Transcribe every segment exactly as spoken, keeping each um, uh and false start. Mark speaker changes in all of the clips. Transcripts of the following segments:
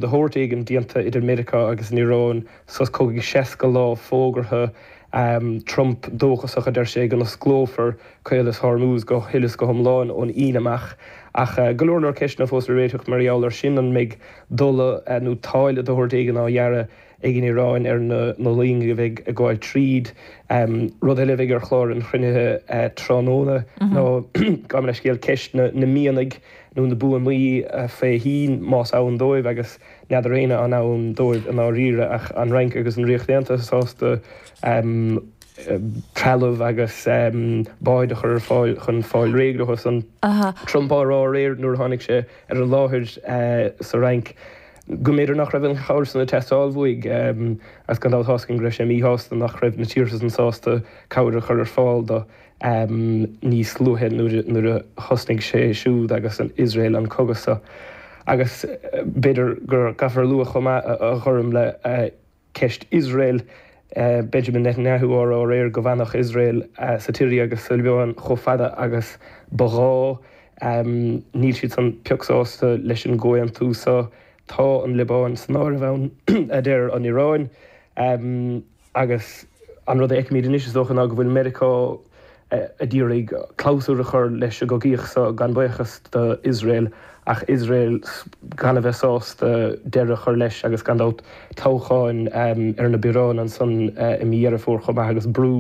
Speaker 1: de shórt éigin déanta idir Meiriceá agus an Iaráin, sos cogaidh seasca lá fógartha, Trump dóchasach, a deir sé, go n-osclófar Caolas Hormuz go huile is go hiomlán ón Aoine amach. Ach go leor leor ceisteanna fós le réiteach mar gheall air sin, an mbeidh dola nó táille de shórt éigin á ghearradh ag an Iaráin ar na loinge a bheidh ag gabháil tríd? Rud eile a bheidh ar chlár an chruinnithe tráthnóna ná, gabh mo leithscéal, ceist na mianaigh nó na buamaí faoi thoinn, más ann dóibh, agus n'fheadar éinne an ann dóibh i ndáiríre, ach an Fhrainc agus an Ríocht Aontaithe sásta trealamh agus báid a chur ar fáil chun fáil réidh leo san. Trump á rá aréir nuair a tháinig sé ar an láthair sa Fhrainc go mb'fhéidir nach raibh an chabhair san ag teastáil uaidh agus gan dabht tá's againn go raibh sé míshásta nach raibh na tíortha san sásta cabhair a chur ar fáil do níos luaithe nuair a thosnaigh sé siúd agus Iosrael an cogadh seo. Agus b'fhéidir go gcaithfear a lua chomh maith, a Ghormfhlaith, ceist Iosrael, Benjamin Netanyahu á rá aréir go bhfanfadh Iosrael sa tSiria agus sa Liobáin chomh fada agus ba ghá. Níl siad san pioc sásta leis an gcomhaontú seo. Tá an Liobáin san áireamh ann, a deir an Iaráin. Agus an rud a fheicimid anois, is dócha, ná go bhfuil Meiriceá ag iarraidh clabhsúr a chur leis an gcogaíocht seo, gan buíochas do Iosrael, ach Iosrael gan a bheith sásta deireadh a chur leis agus gan dabht toghcháin ar na bioráin ansan i mí Dheireadh Fómhair chomh maith agus brú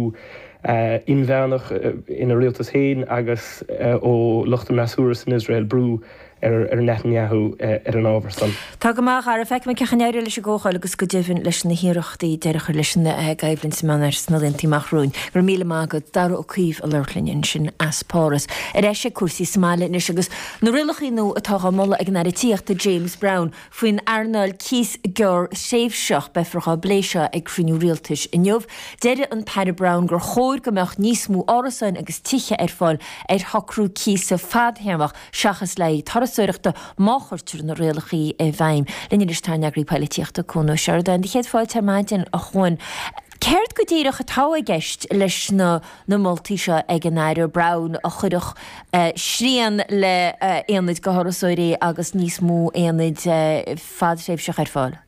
Speaker 1: inmheánach ina rialtas féin agus ó lucht an fhreasúra san Iosrael, brú ar Netanyahu ar an ábhar san.
Speaker 2: Tá go maith, a Dhara. Feicfimid cén chaoi a n-éireoidh leis an gcomhdháil agus go deimhin leis na hiarrachtaí deireadh a chur leis an gcoimhlint sa Meánoirthear sna laethanta amach romhainn. Go raibh míle maith agat, Dara Ó Caoimh ag labhairt linn ansin as Páras. Ar ais ag cúrsaí sa mbaile anois agus na rialacha nua atá á moladh ag an Aire Tithíochta James Browne faoin earnáil cíos gearrthréimhseach. Beifear dhá bplé seo ag cruinniú rialtais inniu. Deir an tAire Browne gur chóir go mbeadh níos mó árasáin agus tithe ar fáil ar shocrú cíosa fadthéarmach seachas le haghaidh turasóireachta má chuirtear na rialacha i bhfeidhm. Linn anois tá ár n-eagraí poilitíochta, Cuan Ó Seireadáin. Do chéad fáilte ar maidin, a Chuain. Céard go díreach atá i gceist leis na na moltaí seo ag an Aire Browne a chuirfeadh srian le aonaid do thurasóirí agus níos mó aonaid fadthréimhseach ar fáil?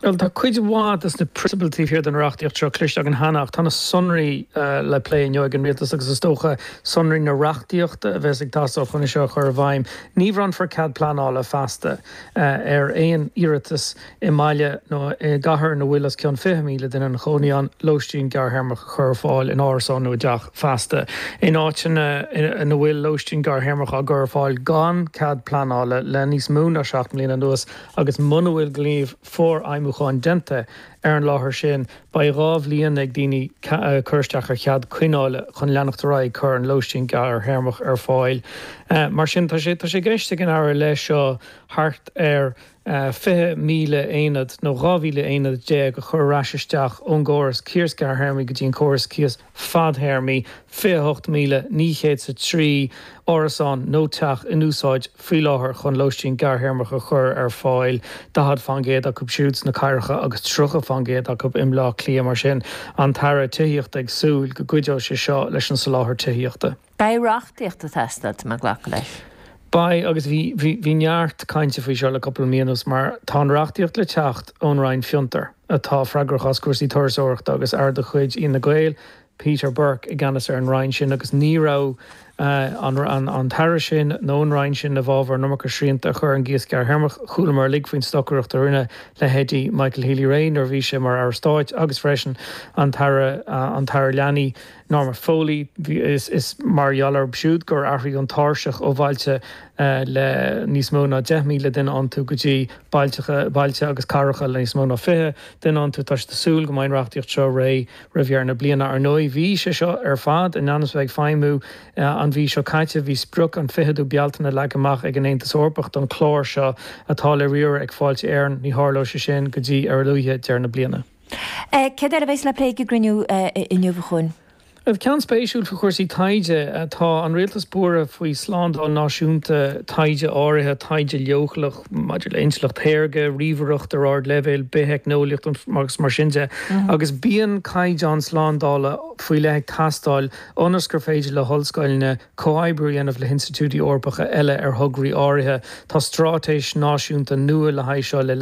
Speaker 3: Bhuel, tá cuid mhaith de na prionsabail taobh thiar den reachtaíocht seo cloiste againn cheana ach tá na sonraí le plé inniu ag an Rialtas agus is dócha sonraí na reachtaíochta a bheas ag teastáil chun é seo a chur i bhfeidhm. Ní bhronnfar cead pleanála feasta ar aon iarratas i mbaile nó i gcathair ina bhfuil os cionn fiche míle duine ina chónaí ann lóistín gearrthéarmach a chur ar fáil in árasán nó i dteach feasta. In áiteanna ina bhfuil lóistín gearrthéarmach á gcur ar fáil gan cead pleanála le níos mó ná seacht mbliana anuas agus muna bhfuil gníomh forfheidhmiúcháin déanta ar an láthair sin, beidh dhá bhliain ag daoine cur isteach ar chead coinneála chun leanacht ar aghaidh ag cur an lóistín gearrthéarmach ar fáil. Mar sin, tá sé tá sé i gceist ag an Aire leis seo thart ar fiche míle aonad nó dhá mhíle aonad déag a chur ar ais isteach ón gcóras cíos gearrthéarmaí go dtí an córas cíos fadthéarmaí, fiche a hocht míle naoi chéad is a trí árasán nó teach in úsáid faoi láthair chun lóistín gearrthéarmach a chur ar fáil, daichead faoin gcéad acu siúd sna cathracha agus tríocha faoin gcéad acu i mBleá Cliath. Mar sin, an tAire Tithíochta ag súil go gcuideoidh sé seo leis an soláthar tithíochta.
Speaker 2: Beidh reachtaíocht ag teastáil, tá mé ag glacadh leis.
Speaker 3: Beidh, agus bhí, bhí, bhí neart cainte faoi seo le cúpla mí anuas mar tá an reachtaíocht le teacht ón Roinn Fiontar, atá freagrach as cúrsaí turasóireachta agus aire de chuid Fhine Gael, Peter Burke, i gceannas ar an Roinn sin agus ní raibh an, an, an tAire sin nó an Roinn sin i bhfabhar an iomarca srianta a chur ar an gcíos gearrthéarmach. Chualamar uilig faoin stocaireacht a rinne leithéidí Michael Healy-Rae nuair a bhí sé mar Aire Stáit agus freisin an tAire, an tAire Leanaí, Norma Foley, Is mar gheall orthu siúd gur athraíodh an tairseach ó bhailte le níos mó ná deich míle duine iontu go dtí bailte agus cathracha le níos mó ná fiche duine iontu. Tá siad ag súil go mbeidh an reachtaíocht seo réidh roimh dheireadh na bliana. Ar ndóigh, bhí sé seo ar fad in ainm is a bheith ag feidhmiú an mhí seo caite. Bhí sprioc an ficheadú Bealtaine leagtha amach ag an Aontas Eorpach don chlár seo atá le riaradh ag Fáilte Éireann. Ní tharlóidh sé sin go dtí ar a luaithe deireadh na bliana.
Speaker 2: Céard eile a bheas le plé ag an gcruinniú inniu, a Chuain?
Speaker 3: Ceann spéisiúil faoi chúrsaí taighde, tá an rialtas buartha faoi slándáil náisiúnta taighde áirithe, taighde leochaileach maidir le intleacht shaorga, ríomhaireacht ar ardleibhéal, bitheicneolaíocht agus mar sin de, agus bíonn caighdeán slándála faoi leith ag teastáil ionas gur féidir le hollscoileanna comhoibriú a dhéanamh le hinstitiúidí Eorpacha eile ar thograí áirithe. Tá straitéis náisiúnta nua le haghaidh seo le